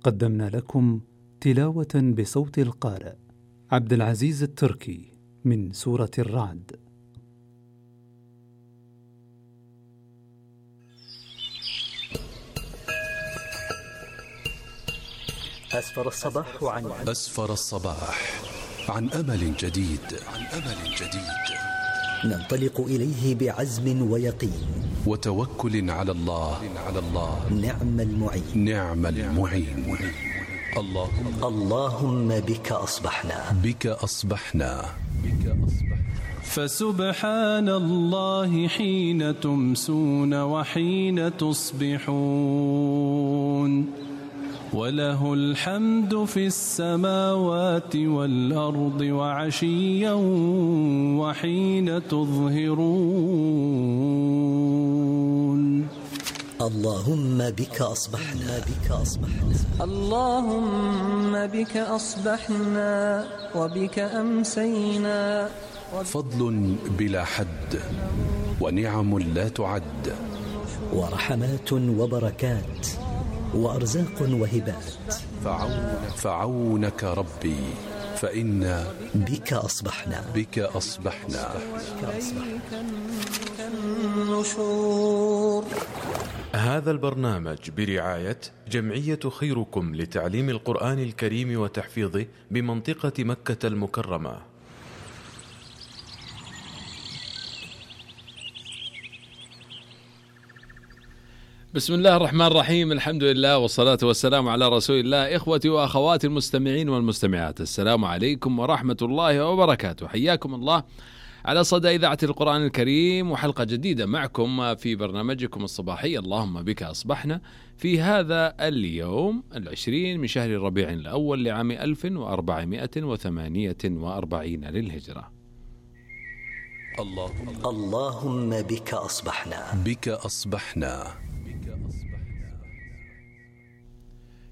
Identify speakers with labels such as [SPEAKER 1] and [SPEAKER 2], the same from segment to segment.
[SPEAKER 1] قدمنا لكم تلاوة بصوت القارئ عبد العزيز التركي من سورة الرعد.
[SPEAKER 2] أسفر الصباح عن أمل جديد.
[SPEAKER 3] ننطلق إليه بعزم ويقين
[SPEAKER 2] وتوكل على الله.
[SPEAKER 3] نعم المعين. اللهم بك أصبحنا.
[SPEAKER 4] فسبحان الله حين تمسون وحين تصبحون، وله الحمد في السماوات والأرض وعشيا وحين تظهرون.
[SPEAKER 3] اللهم بك أصبحنا.
[SPEAKER 5] اللهم بك أصبحنا وبك أمسينا.
[SPEAKER 2] فضل بلا حد ونعم لا تعد،
[SPEAKER 3] ورحمات وبركات وأرزاق وهبات.
[SPEAKER 2] فعونك ربي فإنا
[SPEAKER 3] بك أصبحنا.
[SPEAKER 5] النشور.
[SPEAKER 6] هذا البرنامج برعاية جمعية خيركم لتعليم القرآن الكريم وتحفيظه بمنطقة مكة المكرمة.
[SPEAKER 7] بسم الله الرحمن الرحيم، الحمد لله والصلاة والسلام على رسول الله. إخوتي وأخواتي المستمعين والمستمعات، السلام عليكم ورحمة الله وبركاته. حياكم الله على صدى إذاعة القرآن الكريم، وحلقة جديدة معكم في برنامجكم الصباحي اللهم بك أصبحنا، في هذا اليوم 20 من شهر ربيع الأول لعام 1448 للهجرة.
[SPEAKER 3] اللهم بك أصبحنا.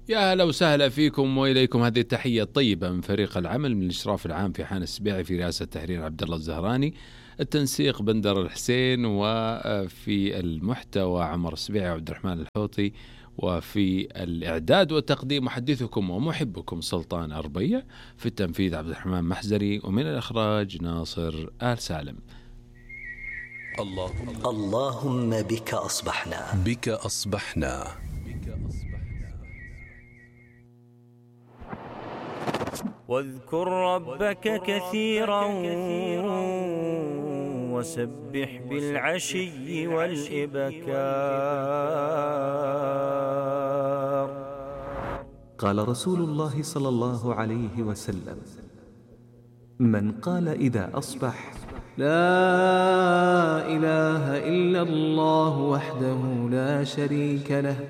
[SPEAKER 7] يا أهلا وسهلا فيكم وإليكم هذه التحية الطيبة من فريق العمل، من الإشراف العام في حان السبيعي، في رئاسة التحرير عبد الله الزهراني، التنسيق بندر الحسين، وفي المحتوى عمر السبيعي وعبد الرحمن الحوطي، وفي الإعداد والتقديم محدثكم ومحبكم سلطان أربيع، في التنفيذ عبد الرحمن محزري، ومن الإخراج ناصر آل سالم.
[SPEAKER 3] اللهم بك أصبحنا.
[SPEAKER 8] واذكر ربك كثيرا وسبح بالعشي والإبكار.
[SPEAKER 9] قال رسول الله صلى الله عليه وسلم: من قال إذا أصبح: لا إله إلا الله وحده لا شريك له،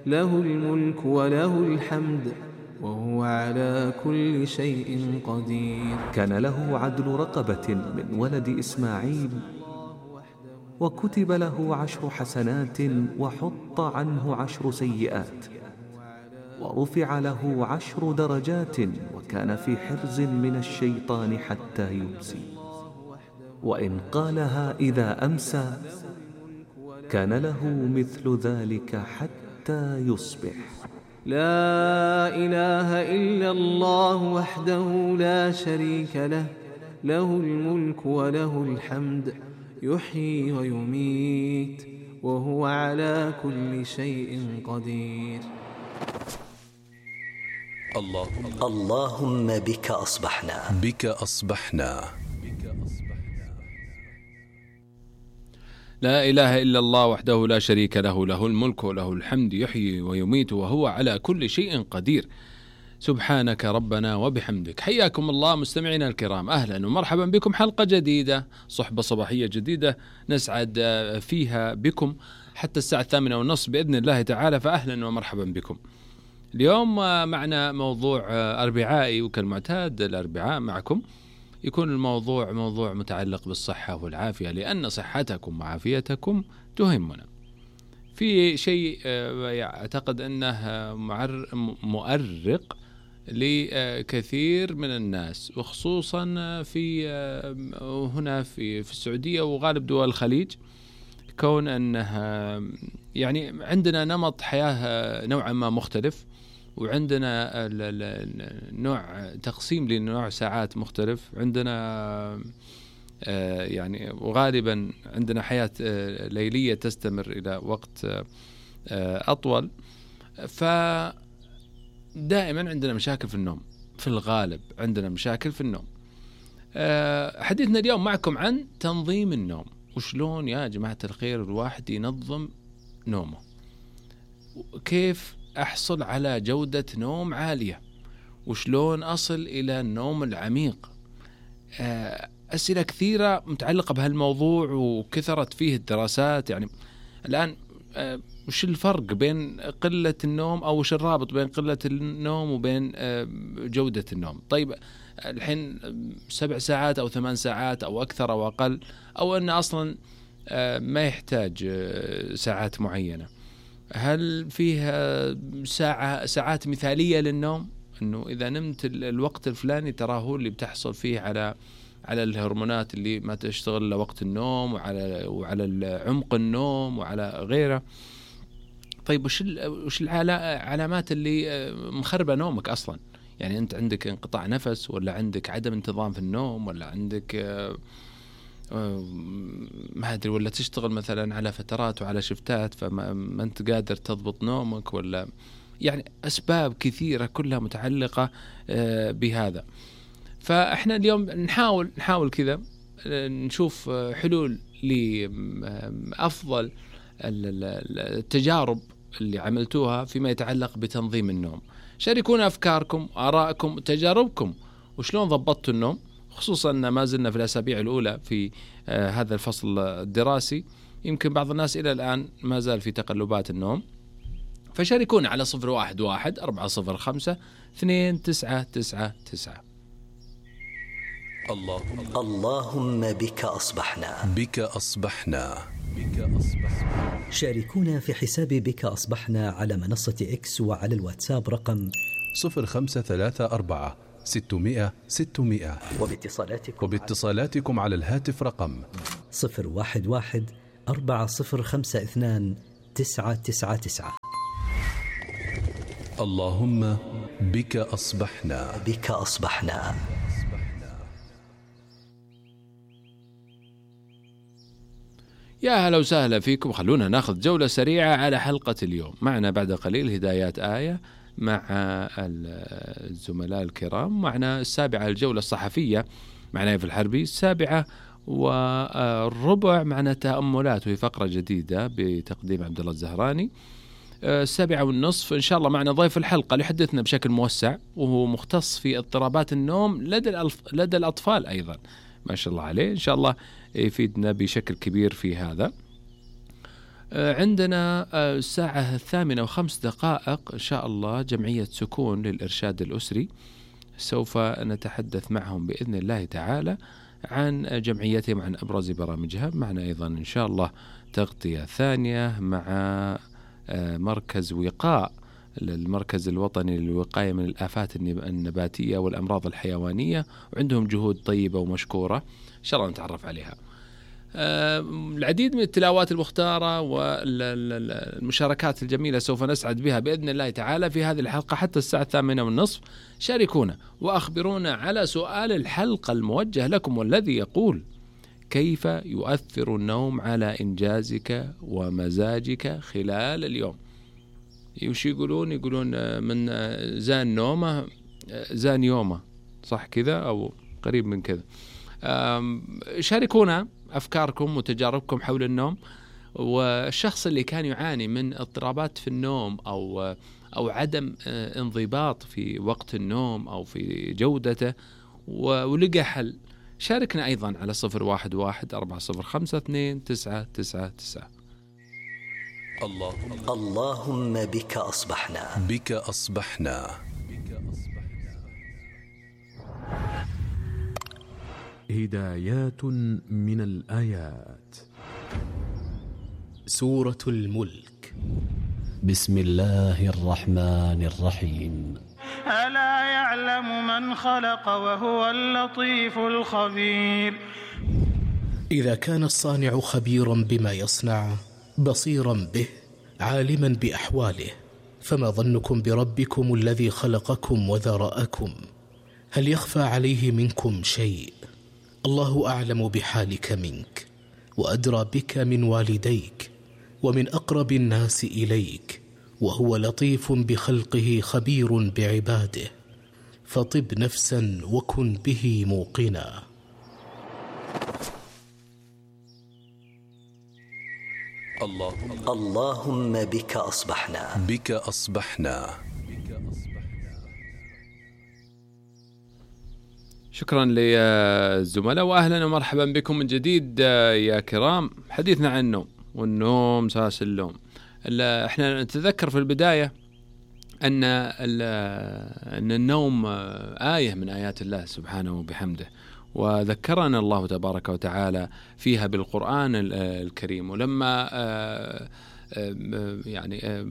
[SPEAKER 9] له الملك وله الحمد وهو على كل شيء قدير، كان له عدل رقبة من ولد إسماعيل، وكتب له 10 حسنات وحط عنه 10 سيئات، ورفع له 10 درجات، وكان في حرز من الشيطان حتى يمسي. وإن قالها إذا أمسى كان له مثل ذلك حتى يصبح. لا إله إلا الله وحده لا شريك له، له الملك وله الحمد يحيي ويميت وهو على كل شيء قدير.
[SPEAKER 3] اللهم بك أصبحنا.
[SPEAKER 7] لا إله إلا الله وحده لا شريك له، له الملك وله الحمد يحيي ويميت وهو على كل شيء قدير. سبحانك ربنا وبحمدك. حياكم الله مستمعينا الكرام، أهلا ومرحبا بكم، حلقة جديدة، صحبة صباحية جديدة نسعد فيها بكم حتى الساعة 8:30 بإذن الله تعالى، فأهلا ومرحبا بكم. اليوم معنا موضوع أربعائي، وكالمعتاد الأربعاء معكم يكون الموضوع موضوع متعلق بالصحة والعافية، لأن صحتكم وعافيتكم تهمنا. في شيء أعتقد أنه مؤرق لكثير من الناس، وخصوصا في هنا في السعودية وغالب دول الخليج، كون أنها يعني عندنا نمط حياة نوعا ما مختلف، وعندنا نوع تقسيم لنوع ساعات مختلف. عندنا يعني وغالبا عندنا حياة ليلية تستمر إلى وقت أطول، فدائما عندنا مشاكل في النوم، في الغالب عندنا مشاكل في النوم. حديثنا اليوم معكم عن تنظيم النوم، وشلون يا جماعة الخير الواحد ينظم نومه، كيف أحصل على جودة نوم عالية، وشلون أصل إلى النوم العميق. أسئلة كثيرة متعلقة بهالموضوع وكثرت فيه الدراسات. يعني الآن وش الفرق بين قلة النوم، أو وش الرابط بين قلة النوم وبين جودة النوم؟ طيب الحين 7 ساعات أو 8 ساعات أو أكثر أو أقل، أو أن أصلا ما يحتاج ساعات معينة؟ هل فيها ساعات مثالية للنوم، أنه إذا نمت الوقت الفلاني ترى هو اللي بتحصل فيه على الهرمونات اللي ما تشتغل لوقت النوم، وعلى عمق النوم وعلى غيره؟ طيب وش العلامات اللي مخربة نومك أصلا؟ يعني أنت عندك انقطاع نفس، ولا عندك عدم انتظام في النوم، ولا عندك ما أدري، ولا تشتغل مثلا على فترات وعلى شفتات فما أنت قادر تضبط نومك، ولا يعني أسباب كثيرة كلها متعلقة بهذا. فإحنا اليوم نحاول كذا نشوف حلول لأفضل التجارب اللي عملتوها فيما يتعلق بتنظيم النوم. شاركونا أفكاركم، آرائكم، تجاربكم، وشلون ضبطتوا النوم، خصوصا أن ما زلنا في الأسابيع الأولى في هذا الفصل الدراسي. يمكن بعض الناس إلى الآن ما زال في تقلبات النوم. فشاركونا على 011-405-2999.
[SPEAKER 3] اللهم بك أصبحنا.
[SPEAKER 2] بك أصبحنا.
[SPEAKER 3] شاركونا في حساب بك أصبحنا على منصة إكس وعلى الواتساب رقم
[SPEAKER 2] 0534-600-600. وباتصالاتكم على الهاتف رقم
[SPEAKER 3] 011-4052-999.
[SPEAKER 2] اللهم بك أصبحنا.
[SPEAKER 3] بك أصبحنا.
[SPEAKER 7] يا هلا وسهلا فيكم. خلونا ناخذ جولة سريعة على حلقة اليوم. معنا بعد قليل هدايات آية مع الزملاء الكرام. معنا 7 الجولة الصحفية معنا نايف الحربي. 7:15 معنا تأملات، وهي فقرة جديدة بتقديم عبد الله الزهراني. 7:30 إن شاء الله معنا ضيف الحلقة ليحدثنا بشكل موسع، وهو مختص في اضطرابات النوم لدى الأطفال أيضا، ما شاء الله عليه، إن شاء الله يفيدنا بشكل كبير في هذا. عندنا 8:05 إن شاء الله جمعية سكون للإرشاد الأسري، سوف نتحدث معهم بإذن الله تعالى عن جمعيتهم، عن أبرز برامجها. معنا أيضا إن شاء الله تغطية ثانية مع مركز وقاء، المركز الوطني للوقاية من الآفات النباتية والأمراض الحيوانية، وعندهم جهود طيبة ومشكورة إن شاء الله نتعرف عليها. العديد من التلاوات المختارة والمشاركات الجميلة سوف نسعد بها بإذن الله تعالى في هذه الحلقة حتى الساعة 8:30. شاركونا وأخبرونا على سؤال الحلقة الموجه لكم، والذي يقول: كيف يؤثر النوم على إنجازك ومزاجك خلال اليوم؟ وش يقولون من زان نومه زان يومه، صح كذا أو قريب من كذا. شاركونا أفكاركم وتجاربكم حول النوم، والشخص اللي كان يعاني من اضطرابات في النوم أو عدم انضباط في وقت النوم أو في جودته ولقى حل، شاركنا أيضا على 011-405-2999.
[SPEAKER 3] اللهم بك أصبحنا.
[SPEAKER 2] بك أصبحنا.
[SPEAKER 6] هدايات من الآيات.
[SPEAKER 10] سورة الملك. بسم الله الرحمن الرحيم.
[SPEAKER 11] ألا يعلم من خلق وهو اللطيف الخبير.
[SPEAKER 10] إذا كان الصانع خبيرا بما يصنع، بصيرا به، عالما بأحواله، فما ظنكم بربكم الذي خلقكم وذرأكم؟ هل يخفى عليه منكم شيء؟ الله أعلم بحالك منك، وأدرى بك من والديك ومن أقرب الناس إليك، وهو لطيف بخلقه خبير بعباده، فطب نفسا وكن به موقنا.
[SPEAKER 3] اللهم بك أصبحنا.
[SPEAKER 2] بك أصبحنا.
[SPEAKER 7] شكرا للزملاء، وأهلا ومرحبا بكم من جديد يا كرام. حديثنا عن النوم، والنوم ساس اللوم. احنا نتذكر في البداية أن النوم آية من آيات الله سبحانه وبحمده، وذكرنا الله تبارك وتعالى فيها بالقرآن الكريم. ولما يعني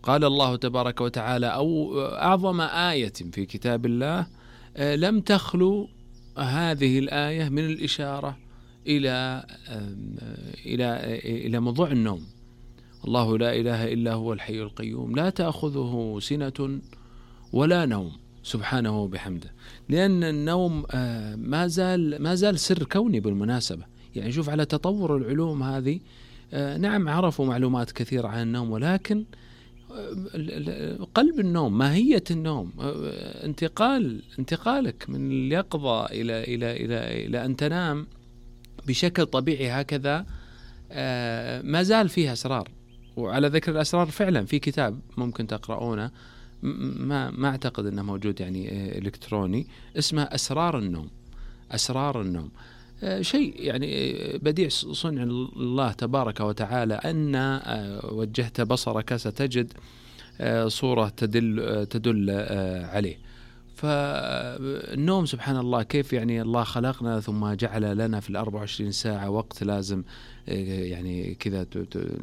[SPEAKER 7] قال الله تبارك وتعالى أو أعظم آية في كتاب الله، لم تخلو هذه الآية من الإشارة إلى موضوع النوم. الله لا إله إلا هو الحي القيوم لا تأخذه سنة ولا نوم سبحانه وبحمده، لأن النوم ما زال سر كوني بالمناسبة. يعني شوف على تطور العلوم هذه، نعم عرفوا معلومات كثيرة عن النوم، ولكن قلب النوم، ماهية النوم، انتقالك من اليقظة إلى أن تنام بشكل طبيعي هكذا، ما زال فيها أسرار. وعلى ذكر الأسرار، فعلا في كتاب ممكن تقرؤونه، ما أعتقد أنه موجود يعني إلكتروني، اسمه أسرار النوم. أسرار النوم شيء يعني بديع صنع الله تبارك وتعالى، أن وجهت بصرك ستجد صورة تدل عليه. فالنوم سبحان الله كيف يعني الله خلقنا ثم جعل لنا في 24 ساعة وقت لازم يعني كذا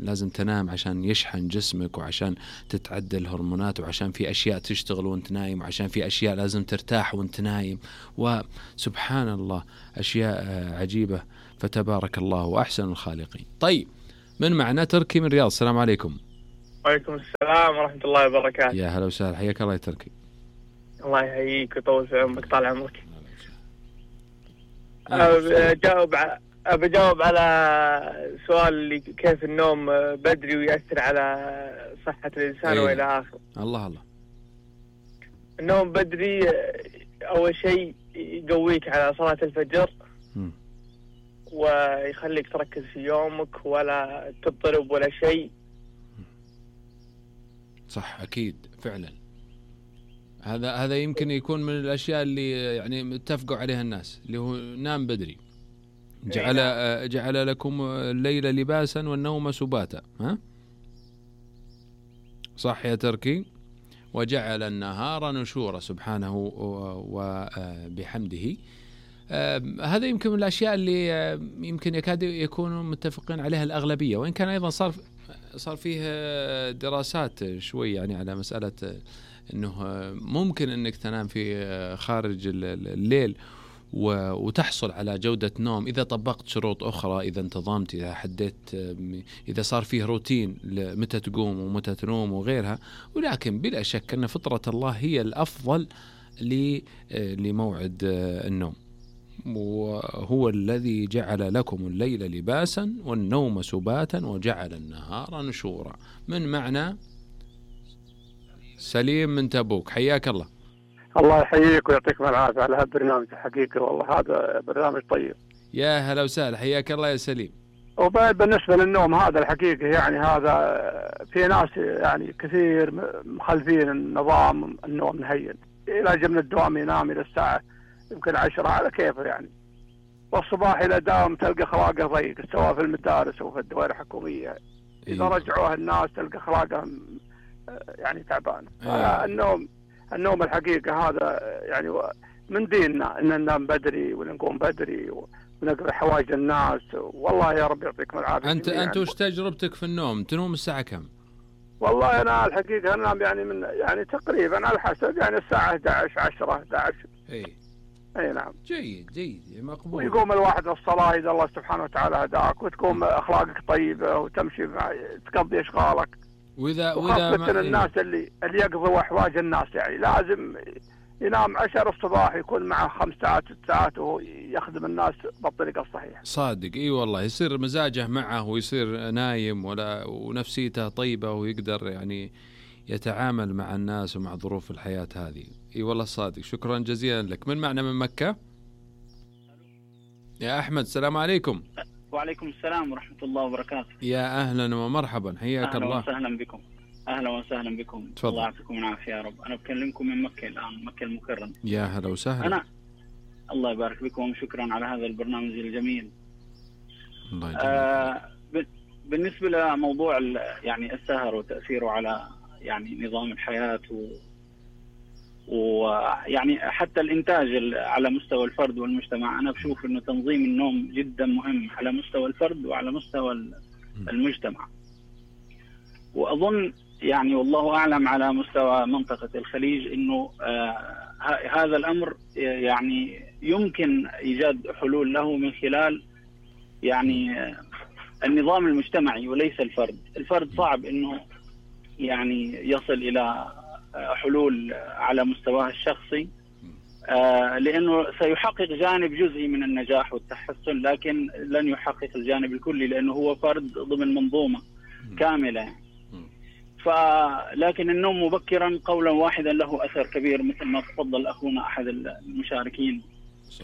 [SPEAKER 7] لازم تنام عشان يشحن جسمك، وعشان تتعدل الهرمونات، وعشان في أشياء تشتغل وانت نايم، وعشان في أشياء لازم ترتاح وانت نايم، وسبحان الله أشياء عجيبة. فتبارك الله وأحسن الخالقين. طيب، من معنا تركي من الرياض. السلام عليكم.
[SPEAKER 12] وعليكم السلام ورحمة الله وبركاته.
[SPEAKER 7] يا هلا وسهلا، حياك الله يا تركي.
[SPEAKER 12] الله يحييك ويطول في عمرك، طال عمرك. بجاوب على سؤال اللي كيف النوم بدري ويأثر على صحة الإنسان وإلى آخره.
[SPEAKER 7] الله.
[SPEAKER 12] النوم بدري أول شيء يقويك على صلاة الفجر، ويخليك تركز في يومك ولا تضطرب ولا شيء.
[SPEAKER 7] صح، أكيد فعلا. هذا يمكن يكون من الأشياء اللي يعني اتفقوا عليها الناس، اللي هو نام بدري. جعل لكم الليل لباسا والنوم سباتا. ها صح يا تركي؟ وجعل النهار نشورا سبحانه وبحمده. هذا يمكن من الأشياء اللي يمكن يكاد يكونوا متفقين عليها الأغلبية، وإن كان أيضا صار فيه دراسات شوي يعني على مسألة أنه ممكن أنك تنام في خارج الليل وتحصل على جودة نوم إذا طبقت شروط أخرى، إذا انتظمت، إذا حددت، إذا صار فيه روتين متى تقوم ومتى تنوم وغيرها. ولكن بلا شك أن فطرة الله هي الأفضل لموعد النوم، وهو الذي جعل لكم الليل لباسا والنوم سباتا وجعل النهار نشورا. من معنى سليم من تبوك، حياك الله.
[SPEAKER 13] الله يحييك ويعطيكم العافية على هالبرنامج الحقيقة، والله هذا برنامج طيب.
[SPEAKER 7] يا هلا وسهلا، حياك الله يا سليم.
[SPEAKER 13] وبعد بالنسبة للنوم هذا الحقيقة يعني هذا في ناس يعني كثير مخالفين النظام النوم نهين، إلى من الدوام ينام إلى الساعة يمكن 10 على كيفه يعني، والصباح إلى دام تلقى خلاقه ضيق، سواء في المدارس أو في الدوائر الحكومية. إذا رجعوها الناس تلقى خلاقه يعني تعبان. النوم الحقيقة هذا يعني من ديننا أن ننام بدري ونقوم بدري ونقضي حوائج الناس. والله يا رب يعطيكم العافية.
[SPEAKER 7] أنت وش تجربتك في النوم؟ تنوم الساعة كم؟
[SPEAKER 13] والله أنا الحقيقة أنام يعني من يعني تقريبا على حسب يعني الساعة 11 10 11. أي نعم.
[SPEAKER 7] جيد مقبول.
[SPEAKER 13] ويقوم الواحد الصلاة إذا الله سبحانه وتعالى هداك، وتقوم أخلاقك طيبة وتمشي تقضي أشغالك. وخاصة الناس اللي يقضوا أحواج الناس، يعني لازم ينام 10 الصباح يكون معه 5 ساعات 6 ساعات وهو يخدم الناس بالطريقة الصحيحة.
[SPEAKER 7] صادق، اي والله يصير مزاجه معه ويصير نايم ونفسيته طيبة ويقدر يعني يتعامل مع الناس ومع ظروف الحياة هذه. اي والله صادق. شكرا جزيلا لك. من معنا من مكة؟ يا أحمد، السلام عليكم.
[SPEAKER 14] وعليكم السلام ورحمة الله وبركاته.
[SPEAKER 7] يا أهلا ومرحبا، حياك الله.
[SPEAKER 14] أهلا وسهلا بكم. أهلا وسهلا بكم.
[SPEAKER 7] تفضل.
[SPEAKER 14] الله يعطيكم العافية يا رب. أنا بكلمكم من مكة الآن، مكة المكرمة.
[SPEAKER 7] يا هلا وسهلا.
[SPEAKER 14] الله يبارك بكم وشكرا على هذا البرنامج الجميل.
[SPEAKER 7] الله يجزاك.
[SPEAKER 14] بالنسبة لموضوع يعني السهر وتأثيره على يعني نظام الحياة ويعني حتى الإنتاج على مستوى الفرد والمجتمع، أنا بشوف إنه تنظيم النوم جدا مهم على مستوى الفرد وعلى مستوى المجتمع. وأظن يعني والله أعلم على مستوى منطقة الخليج إنه هذا الأمر يعني يمكن إيجاد حلول له من خلال يعني النظام المجتمعي وليس الفرد. الفرد صعب إنه يعني يصل إلى حلول على مستواه الشخصي، لأنه سيحقق جانب جزئي من النجاح والتحسن، لكن لن يحقق الجانب الكلي لأنه هو فرد ضمن منظومة كاملة. لكن النوم مبكرا قولا واحدا له أثر كبير، مثل ما تفضل أخونا أحد المشاركين،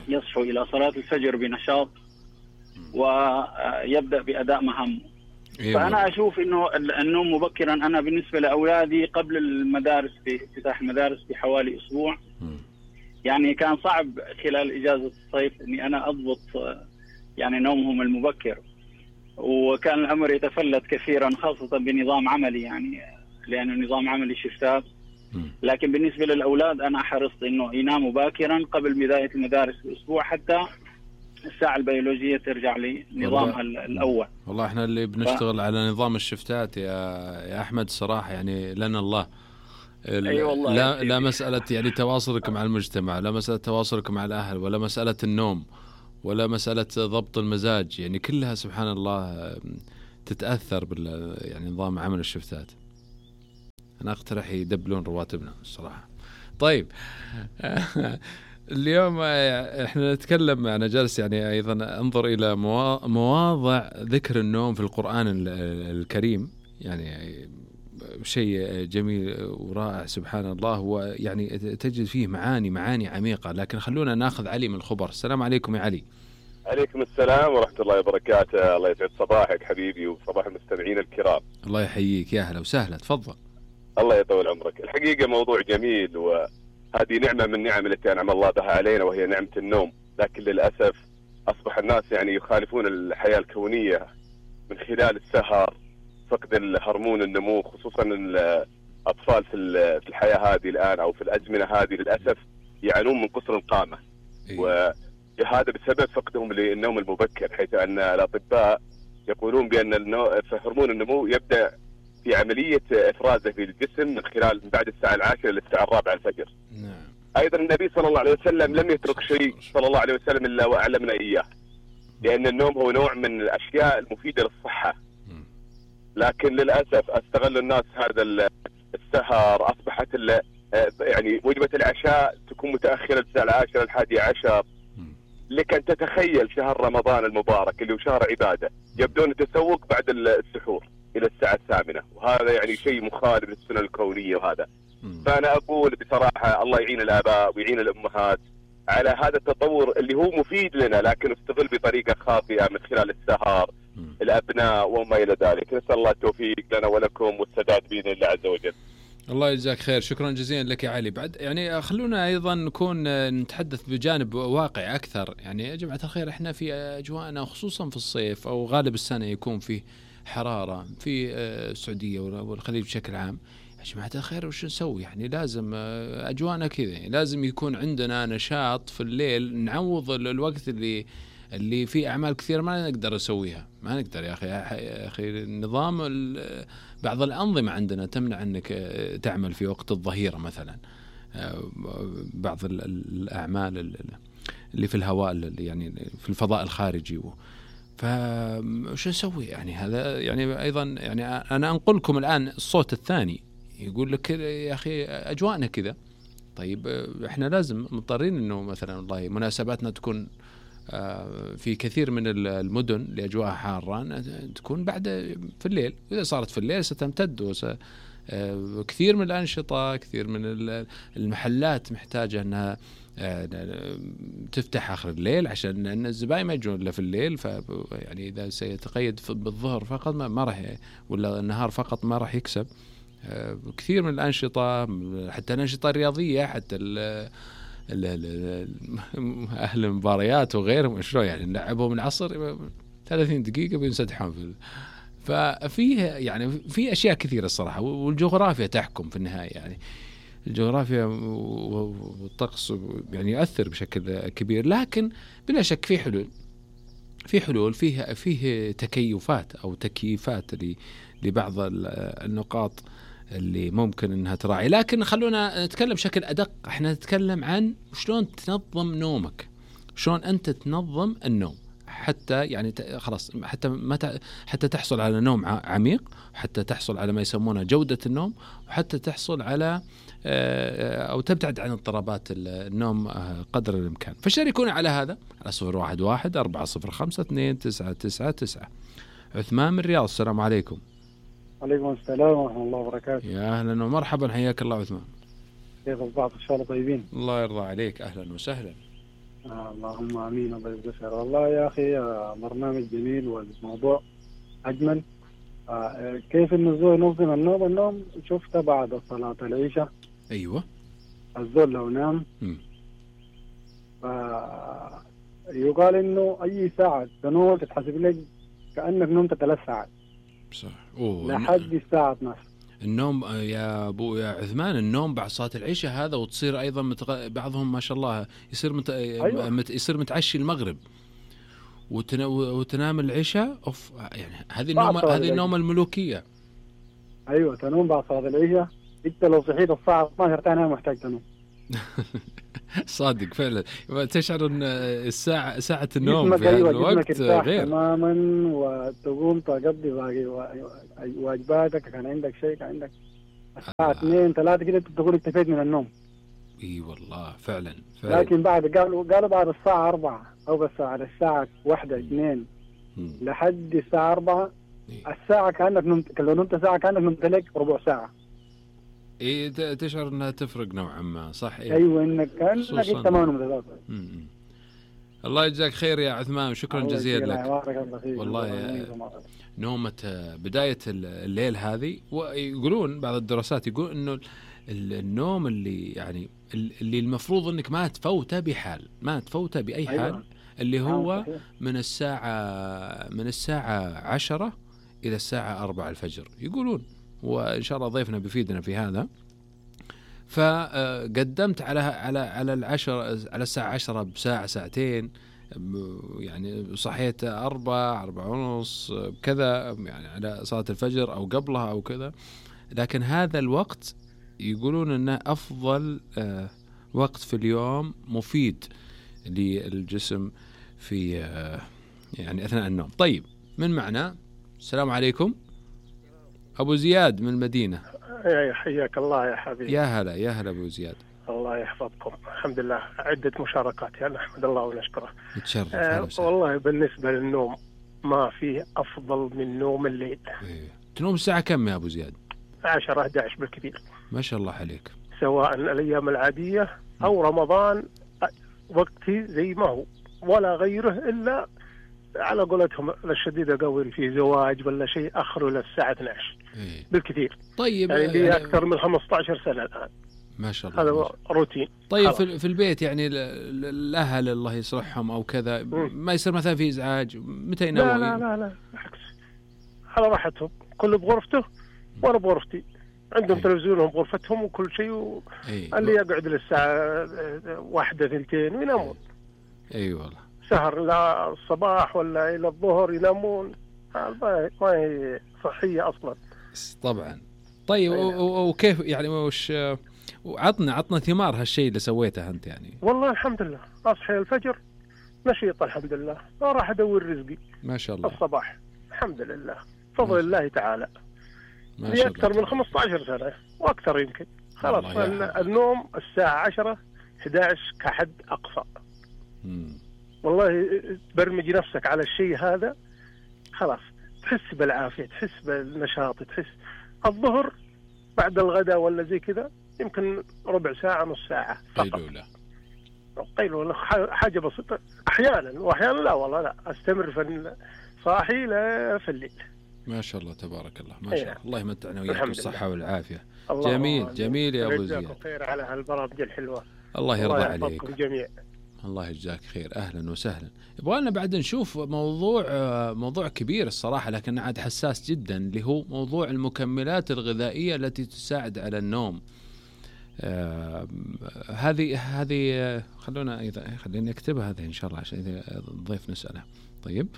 [SPEAKER 14] يصحو إلى صلاة الفجر بنشاط ويبدأ بأداء مهامه. فأنا أشوف إنه النوم مبكرا، أنا بالنسبة لأولادي قبل المدارس بافتتاح المدارس بحوالي أسبوع، يعني كان صعب خلال إجازة الصيف إني أنا أضبط يعني نومهم المبكر، وكان الأمر يتفلت كثيرا خاصة بنظام عملي، يعني لأنه نظام عملي شفتات. لكن بالنسبة للأولاد أنا حرصت إنه يناموا باكرا قبل بداية المدارس بأسبوع حتى الساعة البيولوجية ترجع لنظامها الأول.
[SPEAKER 7] والله احنا اللي بنشتغل على نظام الشفتات يا أحمد صراحة يعني لنا الله. لا مسألة يعني تواصلك مع المجتمع، لا مسألة تواصلك مع الأهل، ولا مسألة النوم، ولا مسألة ضبط المزاج، يعني كلها سبحان الله تتأثر يعني نظام عمل الشفتات. أنا أقترح يدبلون رواتبنا الصراحة. طيب اليوم احنا نتكلم، أنا جالس يعني أيضا أنظر إلى مواضع ذكر النوم في القرآن الكريم، يعني شيء جميل ورائع سبحان الله، ويعني تجد فيه معاني عميقة. لكن خلونا ناخذ علي من الخبر. السلام عليكم يا علي.
[SPEAKER 15] عليكم السلام ورحمة الله وبركاته. الله يسعد صباحك حبيبي وصباح المستمعين الكرام.
[SPEAKER 7] الله يحييك، يا هلا وسهلا، تفضل.
[SPEAKER 15] الله يطول عمرك. الحقيقة موضوع جميل، وهذه نعمة من نعم التي أنعم الله بها علينا، وهي نعمة النوم. لكن للأسف أصبح الناس يعني يخالفون الحياة الكونية من خلال السهر، فقد الهرمون النمو، خصوصا الأطفال في الحياة هذه الآن أو في الأزمنة هذه للأسف يعانون من قصر القامة. وهذا بسبب فقدهم للنوم المبكر، حيث أن الأطباء يقولون بأن هرمون النمو يبدأ في عملية إفرازه في الجسم من خلال بعد الساعة 10 للساعة 4 الفجر. أيضا النبي صلى الله عليه وسلم لم يترك شيء صلى الله عليه وسلم إلا وأعلمنا إياه، لأن النوم هو نوع من الأشياء المفيدة للصحة. لكن للأسف استغل الناس هذا السهر، أصبحت يعني وجبة العشاء تكون متأخرة الساعة 10 11. لك أن تتخيل شهر رمضان المبارك اللي هو شهر عبادة يبدون التسوق بعد السحور إلى الساعة 8، وهذا يعني شيء مخالف للسنة الكونية. وهذا فأنا أقول بصراحة الله يعين الآباء ويعين الأمهات على هذا التطور اللي هو مفيد لنا، لكن استغل بطريقة خاطئة من خلال السهر الأبناء وما إلى ذلك. نسأل الله التوفيق لنا ولكم والسداد بإذن الله عز وجل.
[SPEAKER 7] الله يجزاك خير، شكرا جزيلا لك يا علي. بعد يعني خلونا أيضا نكون نتحدث بجانب واقعي أكثر. يعني يا جماعة الخير احنا في أجواءنا خصوصا في الصيف أو غالب السنة يكون فيه حرارة في السعودية والخليج بشكل عام. يا جماعة الخير وش نسوي؟ يعني لازم أجواءنا كذا، يعني لازم يكون عندنا نشاط في الليل نعوض الوقت اللي فيه أعمال كثير ما نقدر نسويها. ما نقدر يا أخي النظام بعض الأنظمة عندنا تمنع أنك تعمل في وقت الظهيرة مثلا، بعض الأعمال اللي في الهواء يعني في الفضاء الخارجي. فشو نسوي يعني؟ هذا يعني أيضا يعني أنا أنقلكم الآن الصوت الثاني يقول لك يا أخي أجواءنا كذا. طيب إحنا لازم مضطرين إنه مثلا والله مناسباتنا تكون في كثير من المدن اللي أجواءها حارة تكون بعد في الليل، وإذا صارت في الليل ستمتد كثير من الأنشطة، كثير من المحلات محتاجة أنها تفتح آخر الليل عشان أن الزبائن ما يجون إلا في الليل. يعني إذا سيتقيد بالظهر فقط ما راح، ولا النهار فقط ما راح يكسب. كثير من الأنشطة، حتى الأنشطة الرياضية، حتى أهل المباريات وغيرهم شلون يعني نلعبهم العصر 30 دقيقة بينسدحون ففيه يعني في أشياء كثيرة الصراحة، والجغرافيا تحكم في النهاية. يعني الجغرافيا والطقس يعني يؤثر بشكل كبير، لكن بلا شك في حلول فيه تكيفات أو تكييفات لبعض النقاط اللي ممكن انها تراعي. لكن خلونا نتكلم بشكل ادق. احنا نتكلم عن شلون تنظم نومك، شلون انت تنظم النوم حتى يعني خلاص حتى تحصل على نوم عميق، حتى تحصل على ما يسمونه جودة النوم، وحتى تحصل على او تبتعد عن اضطرابات النوم قدر الامكان. فشاركونا على هذا على 011-405-299. عثمان من الرياض، السلام عليكم.
[SPEAKER 16] عليكم السلام ورحمة الله وبركاته.
[SPEAKER 7] يا أهلا ومرحبا، حياك الله عثمان.
[SPEAKER 16] كيف أصبحت؟ إن شاء الله طيبين.
[SPEAKER 7] الله يرضى عليك، أهلا وسهلا.
[SPEAKER 16] اللهم آمين. الله يجزاك خير. والله يا أخي برنامج جميل والموضوع أجمل. كيف النزول ينظم النوم شفته بعد صلاة العشاء.
[SPEAKER 7] أيوة.
[SPEAKER 16] الزول لو نام يقال إنه أي ساعة تنوم تتحسب لك كأنك نمت 3 ساعات.
[SPEAKER 7] صح.
[SPEAKER 16] لحد الساعة 12.
[SPEAKER 7] النوم يا أبو يا عثمان، النوم بعد صلاة العشاء هذا، وتصير أيضا بعضهم ما شاء الله يصير يصير متعشي المغرب وتنام العشاء. أوف، يعني هذه النوم الملوكية.
[SPEAKER 16] أيوة، تنوم بعد صلاة العشاء. أنت لو صحيت الساعة 12 تاني محتاج تنوم.
[SPEAKER 7] صادق فعلا، تشعر ان ساعة النوم في
[SPEAKER 16] هذا
[SPEAKER 7] الوقت غير
[SPEAKER 16] تماما، وتقوم تقضي باقي واجباتك. كان عندك شيء، كان عندك الساعة 2-3 كده تقول اكتفيت من النوم.
[SPEAKER 7] اي والله فعلا.
[SPEAKER 16] لكن بعد قالوا بعد الساعة 4 او بس على الساعة 1-2 لحد الساعة 4 الساعة كأنك نمت. لو نمت ساعة كأنك نمت لك ربع ساعة.
[SPEAKER 7] إيه، تشعر أنها تفرق نوعا ما، صح؟ إيه؟
[SPEAKER 16] أيوة، إنك كأنك أنت ما نمت.
[SPEAKER 7] الله يجزاك خير يا عثمان، شكرا جزيلا لك. والله نومة بداية الليل هذه، ويقولون بعض الدراسات يقول إنه النوم اللي يعني اللي المفروض إنك ما تفوته بحال، ما تفوته بأي حال. أيوة. اللي هو من الساعة 10 إلى الساعة 4 الفجر يقولون، وإن شاء الله ضيفنا بيفيدنا في هذا. فقدمت على الساعة 10 بساعة ساعتين، يعني صحيت 4:30 كذا، يعني على صلاة الفجر أو قبلها أو كذا. لكن هذا الوقت يقولون أنه أفضل وقت في اليوم، مفيد للجسم في يعني أثناء النوم. طيب، من معنا؟ السلام عليكم. أبو زياد من المدينة.
[SPEAKER 17] حياك الله يا حبيبي.
[SPEAKER 7] يا هلا أبو زياد.
[SPEAKER 17] الله يحفظكم. الحمد لله، عدة مشاركات يعني، نحمد الله ونشكره.
[SPEAKER 7] تشرف.
[SPEAKER 17] والله بالنسبة للنوم ما فيه أفضل من نوم الليل.
[SPEAKER 7] تنوم الساعة كم يا أبو زياد؟
[SPEAKER 17] 10-11 بالكثير.
[SPEAKER 7] ما شاء الله عليك.
[SPEAKER 17] سواء الأيام العادية أو رمضان، وقتي زي ما هو ولا غيره، إلا على قولتهم الشديدة قوي في زواج ولا شيء أخره للساعة 12 بالكثير.
[SPEAKER 7] طيب،
[SPEAKER 17] يعني لي أكثر من 15 سنة الآن.
[SPEAKER 7] ما شاء الله.
[SPEAKER 17] هذا روتين.
[SPEAKER 7] طيب، في البيت يعني الأهل الله يصلحهم أو كذا، ما يصير مثلا في إزعاج؟ متى يناموا؟
[SPEAKER 17] لا بالعكس، على راحتهم، كل بغرفته وأنا بغرفتي. عندهم تلفزيونهم بغرفتهم وكل شيء، اللي يقعد للساعة 1-2 وينامون.
[SPEAKER 7] أي والله،
[SPEAKER 17] سهر لا الصباح ولا إلى الظهر ينامون. ما هي صحية أصلا.
[SPEAKER 7] طبعا. طيب، وكيف يعني وش عطنا ثمار هالشيء اللي سويته أنت يعني؟
[SPEAKER 17] والله الحمد لله، أصحي الفجر نشيط الحمد لله، راح أدور رزقي
[SPEAKER 7] ما شاء الله
[SPEAKER 17] الصباح الحمد لله فضل الله تعالى.
[SPEAKER 7] ما
[SPEAKER 17] لي
[SPEAKER 7] شاء
[SPEAKER 17] أكثر
[SPEAKER 7] الله
[SPEAKER 17] من 15 سنة وأكثر يمكن. خلاص النوم الساعة 10 11 كحد أقصى. والله تبرمج نفسك على الشيء هذا خلاص تحس بالعافية، تحس بالنشاط، تحس الظهر بعد الغداء ولا زي كذا يمكن ربع ساعة نص ساعة فقط. قيلولة حاجة بسيطة أحيانا، وأحيانا لا والله لا أستمر في صاحي لا في الليل.
[SPEAKER 7] ما شاء الله تبارك الله ما شاء الله. الله يمتعنا وياك بالصحة والعافية. جميل جميل يا أبو زياد.
[SPEAKER 17] خير على هالبرامج الحلوة.
[SPEAKER 7] الله يرضى عليك.
[SPEAKER 17] جميع.
[SPEAKER 7] الله يجزاك خير. أهلا وسهلا. يبغالنا بعد نشوف موضوع كبير الصراحة لكن عاد حساس جدا اللي هو موضوع المكملات الغذائية التي تساعد على النوم. هذه خلينا نكتبها هذه إن شاء الله عشان إذا الضيف نسأله. طيب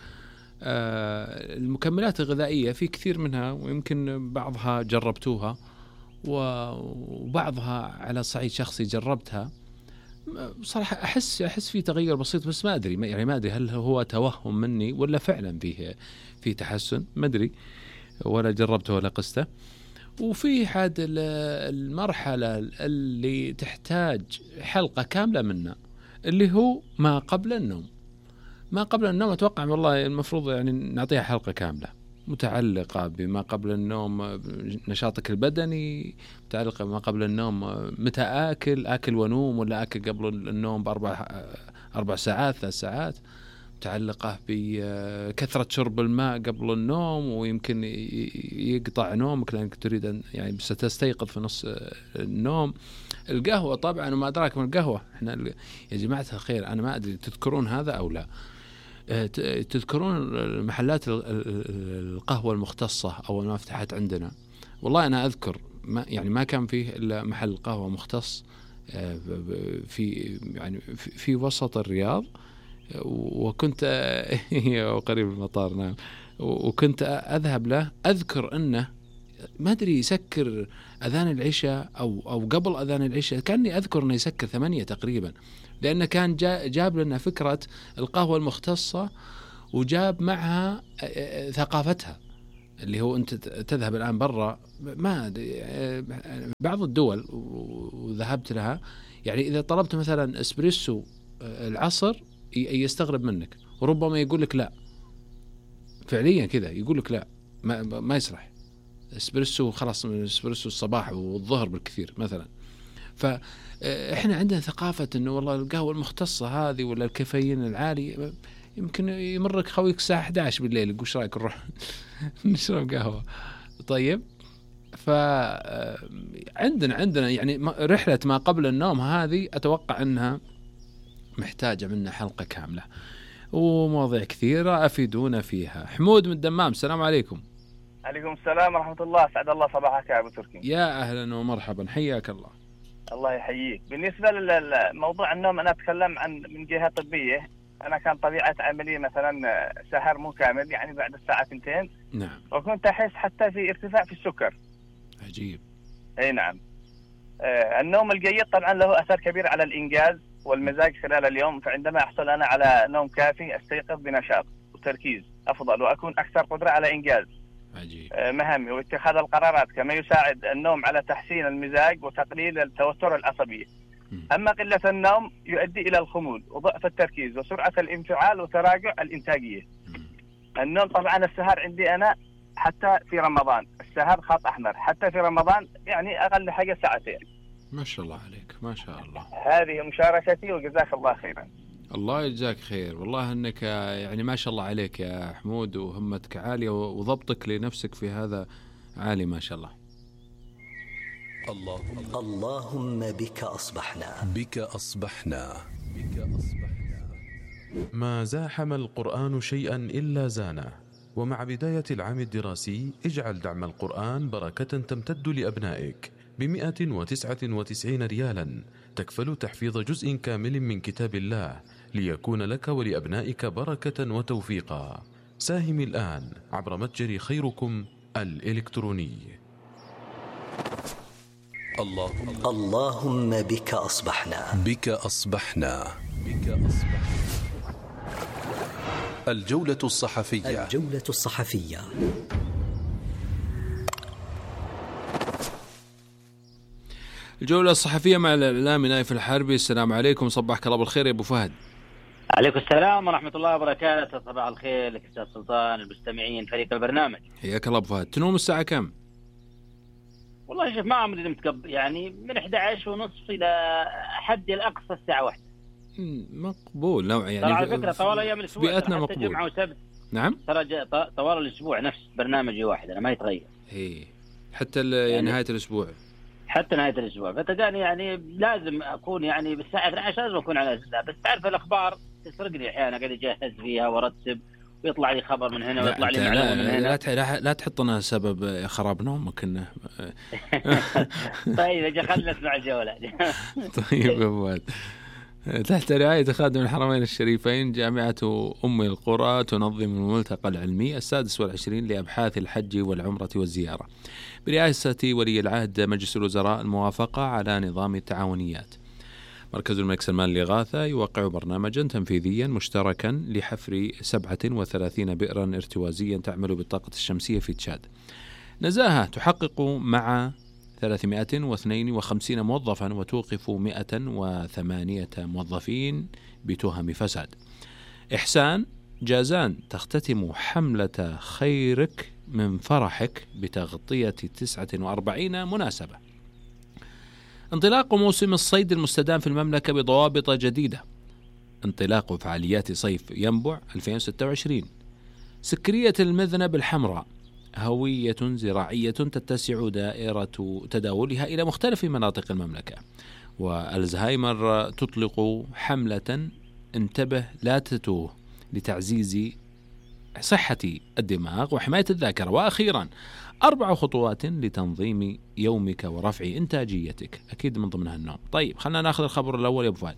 [SPEAKER 7] المكملات الغذائية في كثير منها ويمكن بعضها جربتوها وبعضها على صعيد شخصي جربتها. بصراحة أحس في تغير بسيط بس ما أدري هل هو توهم مني ولا فعلا فيه تحسن ما أدري ولا جربته ولا قسته. وفي حد المرحلة اللي تحتاج حلقة كاملة منها اللي هو ما قبل النوم أتوقع والله المفروض يعني نعطيها حلقة كاملة متعلقة بما قبل النوم، نشاطك البدني، متعلقة بما قبل النوم، متى آكل ونوم ولا آكل قبل النوم ب4 ساعات 3 ساعات، متعلقة بكثرة شرب الماء قبل النوم ويمكن يقطع نومك لأنك تريد أن يعني ستستيقظ في نص النوم. القهوة طبعا وما أدراك من القهوة. احنا يا جماعة الخير أنا ما أدري تذكرون هذا أو لا، تذكرون محلات القهوة المختصة أول ما فتحت عندنا؟ والله أنا أذكر ما كان فيه إلا محل قهوة مختص في وسط الرياض، وكنت قريب المطار نعم، وكنت أذهب له. أذكر أنه ما أدري يسكر أذان العشاء أو قبل أذان العشاء، كأني أذكر أنه يسكر 8 تقريبا، لأنه كان جاب لنا فكرة القهوة المختصة وجاب معها ثقافتها اللي هو أنت تذهب الآن برا ما بعض الدول وذهبت لها يعني إذا طلبت مثلا إسبريسو العصر يستغرب منك وربما يقول لك لا، فعليا كذا يقول لك لا ما يصلح إسبريسو، خلاص إسبريسو الصباح والظهر بالكثير مثلا. فإحنا عندنا ثقافة إنه والله القهوة المختصة هذه ولا الكافيين العالي يمكن يمرك خويك الساعة 11 بالليل يقول ايش رايك نروح نشرب قهوة. طيب عندنا يعني رحلة ما قبل النوم هذه أتوقع أنها محتاجة منا حلقة كاملة ومواضيع كثيرة أفيدونا فيها. حمود من الدمام، السلام عليكم.
[SPEAKER 18] عليكم السلام ورحمة الله، سعد الله صباحك يا أبو تركي.
[SPEAKER 7] يا أهلا ومرحبا، حياك الله.
[SPEAKER 18] الله يحييك. بالنسبة للموضوع النوم أنا أتكلم من جهة طبية. أنا كان طبيعة عملي مثلا سهر مو كامل يعني بعد الساعة 2.
[SPEAKER 7] نعم.
[SPEAKER 18] وكنت أحس حتى في ارتفاع في السكر.
[SPEAKER 7] عجيب.
[SPEAKER 18] أي نعم. النوم الجيد طبعا له أثر كبير على الإنجاز والمزاج خلال اليوم، فعندما أحصل أنا على نوم كافي أستيقظ بنشاط وتركيز أفضل وأكون أكثر قدرة على إنجاز مهامي واتخاذ القرارات، كما يساعد النوم على تحسين المزاج وتقليل التوتر العصبي. أما قلة النوم يؤدي إلى الخمول وضعف التركيز وسرعة الانفعال وتراجع الإنتاجية. النوم طبعا السهر عندي أنا حتى في رمضان السهر خط أحمر، حتى في رمضان يعني أقل حاجة 2 ساعات.
[SPEAKER 7] ما شاء الله عليك ما شاء الله.
[SPEAKER 18] هذه مشاركتي وجزاك الله خيرا.
[SPEAKER 7] الله يجزاك خير، والله أنك يعني ما شاء الله عليك يا حمود وهمتك عالية وضبطك لنفسك في هذا عالي ما شاء الله.
[SPEAKER 3] اللهم بك أصبحنا
[SPEAKER 6] ما زاحم القرآن شيئا إلا زانه. ومع بداية العام الدراسي اجعل دعم القرآن بركة تمتد لأبنائك ب199 ريالا تكفل تحفيظ جزء كامل من كتاب الله ليكون لك ولأبنائك بركة وتوفيقا. ساهم الآن عبر متجر خيركم الإلكتروني.
[SPEAKER 3] اللهم بك أصبحنا.
[SPEAKER 2] الجولة الصحفية.
[SPEAKER 3] الجولة الصحفية.
[SPEAKER 7] الجولة الصحفية مع الإعلامي نايف الحربي. السلام عليكم، صباحك الله بالخير يا أبو فهد.
[SPEAKER 19] عليكم السلام ورحمة الله وبركاته. صباح الخير لك أستاذ سلطان، المستمعين، فريق البرنامج.
[SPEAKER 7] حياك الله أبو فهد. تنوم الساعة كم؟
[SPEAKER 19] والله شوف ما عمري نمت يعني من 11:30 إلى حد الأقصى الساعة 1.
[SPEAKER 7] مقبول نوعا يعني.
[SPEAKER 19] على فكرة طوال أيام الأسبوع
[SPEAKER 7] بيئتنا مقبول.
[SPEAKER 19] جمعة وسبت.
[SPEAKER 7] نعم.
[SPEAKER 19] ترى طوال الأسبوع نفس برنامجي واحد، أنا ما يتغير.
[SPEAKER 7] إيه. حتى يعني نهاية الأسبوع.
[SPEAKER 19] حتى نهاية الأسبوع، فتلقاني يعني لازم أكون يعني بالساعة 12 لازم أكون على أساس. بس تعرف الأخبار تسرقني أحيانا، قاعد أجهز فيها وأرتب ويطلع لي خبر من هنا ويطلع لي معلومة من هنا.
[SPEAKER 7] لا تحطنا سبب خراب نومك إنه.
[SPEAKER 19] طيب أجي خلنا نسمع الجولة.
[SPEAKER 7] طيب يا فؤاد. تحت رعاية خادم الحرمين الشريفين جامعة أم القرى تنظم الملتقى العلمي 26 لأبحاث الحج والعمرة والزيارة برئاسة ولي العهد مجلس الوزراء الموافقة على نظام التعاونيات. مركز الملك سلمان للإغاثة يوقع برنامجا تنفيذيا مشتركا لحفر 37 بئرا ارتوازيا تعمل بالطاقة الشمسية في تشاد. نزاهة تحقق مع 352 موظفا وتوقف 108 موظفين بتهم فساد. إحسان جازان تختتم حملة خيرك من فرحك بتغطية 49 مناسبة. انطلاق موسم الصيد المستدام في المملكة بضوابط جديدة. انطلاق فعاليات صيف ينبع 2026. سكرية المذنب الحمراء هوية زراعية تتسع دائرة تداولها إلى مختلف مناطق المملكة. والزهايمر تطلق حملة انتبه لا تتوه لتعزيز صحة الدماغ وحماية الذاكرة. وأخيرا 4 خطوات لتنظيم يومك ورفع إنتاجيتك، أكيد من ضمنها النوم. طيب خلنا نأخذ الخبر الأول يا أبو فهد.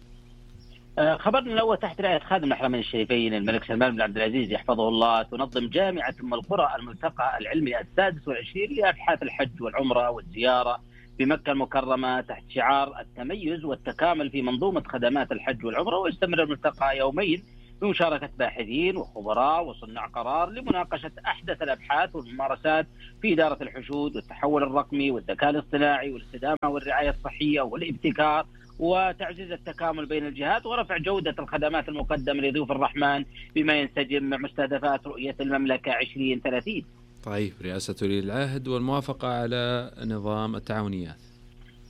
[SPEAKER 19] خبرنا الأول تحت رعاية خادم الحرمين الشريفين الملك سلمان بن عبد العزيز يحفظه الله تنظم جامعة أم القرى الملتقى العلمي 26 لأبحاث الحج والعمرة والزيارة بمكة المكرمة تحت شعار التميز والتكامل في منظومة خدمات الحج والعمرة. ويستمر الملتقى يومين بمشاركة باحثين وخبراء وصناع قرار لمناقشة أحدث الأبحاث والممارسات في إدارة الحشود والتحول الرقمي والذكاء الاصطناعي والاستدامة والرعاية الصحية والابتكار وتعزيز التكامل بين الجهات ورفع جودة الخدمات المقدمة لضيوف الرحمن بما ينسجم مع مستهدفات رؤية المملكة 2030.
[SPEAKER 7] طيب رئاسة ولي العهد والموافقة على نظام التعاونيات.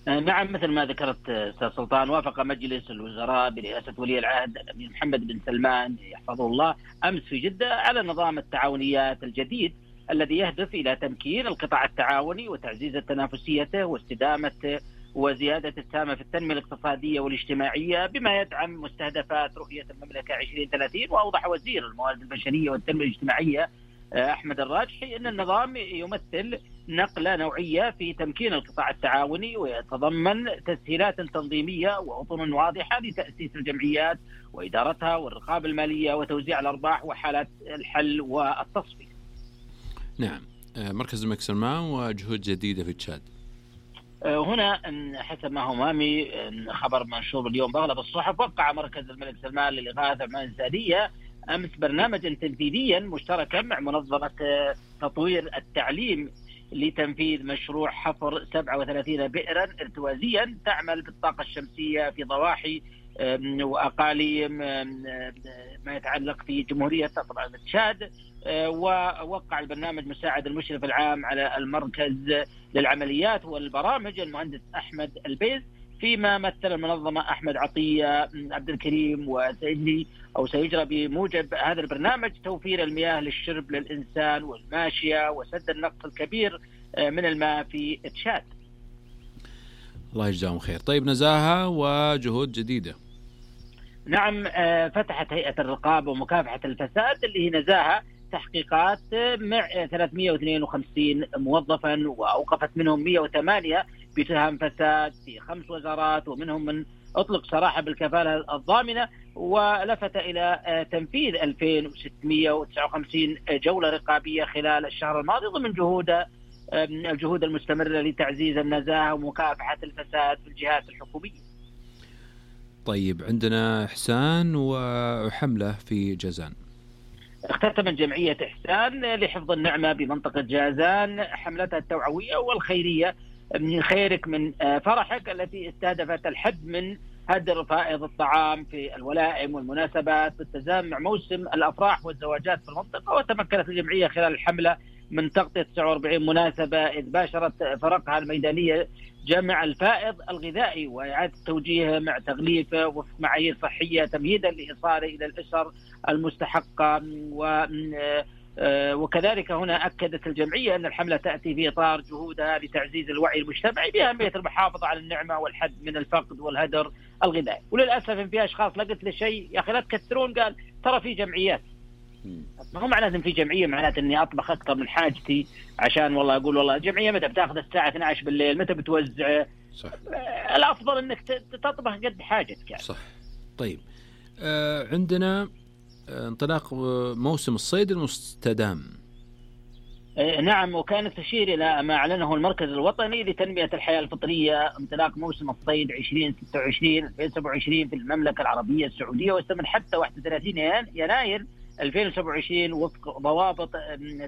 [SPEAKER 19] نعم مثل ما ذكرت أستاذ سلطان، وافق مجلس الوزراء برئاسة ولي العهد الأمير محمد بن سلمان يحفظه الله أمس في جدة على نظام التعاونيات الجديد الذي يهدف إلى تمكين القطاع التعاوني وتعزيز تنافسيته واستدامة وزيادة السهم في التنمية الاقتصادية والاجتماعية بما يدعم مستهدفات رؤية المملكة 2030. وأوضح وزير الموارد البشرية والتنمية الاجتماعية أحمد الراجحي أن النظام يمثل نقلة نوعية في تمكين القطاع التعاوني ويتضمن تسهيلات تنظيمية وأطر واضحة لتأسيس الجمعيات وإدارتها والرقابة المالية وتوزيع الأرباح وحالات الحل والتصفية.
[SPEAKER 7] نعم. مركز الملك سلمان وجهود جديدة في تشاد.
[SPEAKER 19] هنا حسب ما هو مامي خبر منشور اليوم بأغلب الصحف، وقع مركز الملك سلمان للإغاثة والإنسانية أمس برنامجا تنفيذيا مشتركا مع منظمة تطوير التعليم لتنفيذ مشروع حفر 37 بئرا ارتوازيا تعمل بالطاقة الشمسية في ضواحي وأقاليم ما يتعلق في جمهورية طبعا تشاد. ووقع البرنامج مساعد المشرف العام على المركز للعمليات والبرامج المهندس أحمد البيز، فيما مثل المنظمة أحمد عطية عبد الكريم سيجرى بموجب هذا البرنامج توفير المياه للشرب للإنسان والماشية وسد النقص الكبير من الماء في تشاد.
[SPEAKER 7] الله يجزاهم خير. طيب نزاهة وجهود جديدة.
[SPEAKER 19] نعم فتحت هيئة الرقابة ومكافحة الفساد اللي هي نزاهة تحقيقات مع 352 موظفا وأوقفت منهم 108 بتهم فساد في 5 وزارات، ومنهم من أطلق سراحة بالكفالة الضامنة. ولفت إلى تنفيذ 2659 جولة رقابية خلال الشهر الماضي ضمن الجهود المستمرة لتعزيز النزاهة ومكافحة الفساد في الجهات الحكومية.
[SPEAKER 7] طيب عندنا إحسان وحملة في جازان.
[SPEAKER 19] اختتمت جمعية إحسان لحفظ النعمة بمنطقة جازان حملتها التوعوية والخيرية من خيرك من فرحك، التي استهدفت الحد من هدر فائض الطعام في الولائم والمناسبات بالتزامن مع موسم الأفراح والزواجات في المنطقة. وتمكنت الجمعية خلال الحملة من تغطية 49 مناسبة، إذ باشرت فرقها الميدانية جمع الفائض الغذائي وإعادة توجيهه مع تغليفه وفق معايير صحية تمهيدا لإيصاله إلى الأسر المستحقة. وكذلك هنا أكدت الجمعية أن الحملة تأتي في إطار جهودها لتعزيز الوعي المجتمعي بأهمية المحافظة على النعمة والحد من الفقد والهدر الغذائي. وللأسف إن في أشخاص لقت لشيء يا أخي لا تكثرون، قال ترى في جمعيات، ما هو معناته إن في جمعية معناته إني أطبخ أكثر من حاجتي عشان والله أقول والله الجمعية متى بتاخذ الساعة 12 بالليل، متى بتوزع. صح. الأفضل إنك تطبخ قد حاجتك يعني.
[SPEAKER 7] صح. طيب عندنا انطلاق موسم الصيد المستدام.
[SPEAKER 19] نعم، وكانت تشير إلى ما أعلنه المركز الوطني لتنمية الحياة الفطرية انطلاق موسم الصيد 2026-2027 في المملكة العربية السعودية، واستمر حتى 31 يناير 2027 وفق ضوابط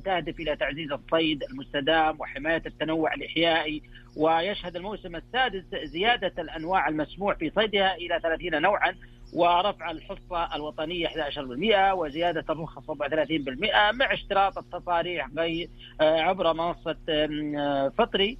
[SPEAKER 19] تهدف إلى تعزيز الصيد المستدام وحماية التنوع الإحيائي. ويشهد الموسم السادس زيادة الأنواع المسموح في صيدها إلى 30 نوعا، ورفع الحصة الوطنية 11% وزيادة الرخصة 34% مع اشتراط التصاريح عبر منصة فطري.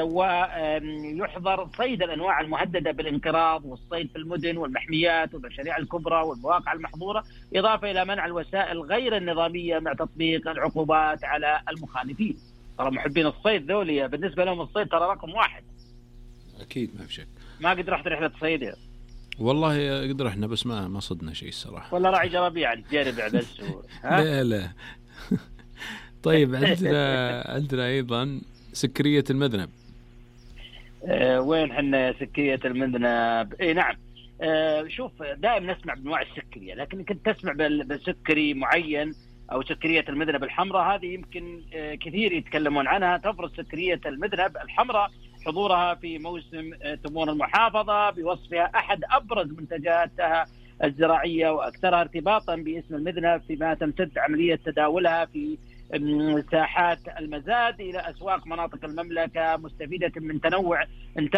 [SPEAKER 19] ويحظر صيد الأنواع المهددة بالانقراض والصيد في المدن والمحميات والمشاريع الكبرى والمواقع المحظورة، إضافة إلى منع الوسائل غير النظامية مع تطبيق العقوبات على المخالفين. ترى محبين الصيد ذولي بالنسبة لهم الصيد ترى رقم واحد.
[SPEAKER 7] أكيد ما في شك.
[SPEAKER 19] ما قد رحت رحلة صيد
[SPEAKER 7] والله قد رحنا بس ما صدنا شيء الصراحة.
[SPEAKER 19] ولا راعي جرابيع تجرب بس.
[SPEAKER 7] لا طيب عندنا أيضا سكرية المذنب.
[SPEAKER 19] وين حنا سكرية المذنب؟ اي نعم. شوف دائما نسمع بانواع السكرية، لكن كنت تسمع بسكري معين او سكرية المذنب الحمراء، هذه يمكن كثير يتكلمون عنها. تفرض سكرية المذنب الحمراء حضورها في موسم تمور المحافظة بوصفها أحد أبرز منتجاتها الزراعية وأكثرها ارتباطا باسم المذنب، فيما تمتد عملية تداولها في ساحات المزاد إلى أسواق مناطق المملكة، مستفيدة من تنوع